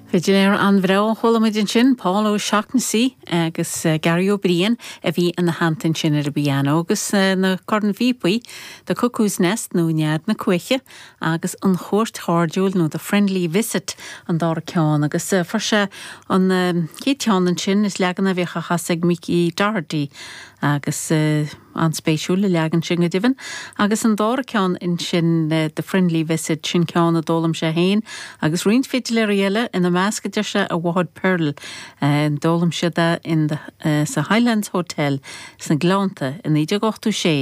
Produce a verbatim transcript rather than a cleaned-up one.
Fidiléir an-bhreá chuala muid ansin Paul O'Shaughnessy agus uh, Gary O'Brien a bhí ina theannta ansin ar an bpianó agus uh, na cornphíopaí The Cuckoo's Nest nó Nead na Cuaiche agus an chuairt chairdiúil nó The Friendly Visit an dara ceann agus uh, fuair sé an uh, chéad cheann ansin is leagan a bhíodh á chasadh ag Mickey Doherty agus uh, an-spéisiúil an leagan sin go deimhin, agus an dara ceann ansin uh, The Friendly Visit sin ceann a d'fhoghlaim sé féin, agus roinnt fidiléirí eile ina measc deir sé a mháthair Pearl uh, d'fhoghlaim siad in the, uh, sa Highlands Hotel sna Gleannta in naoi déag ochtó sé.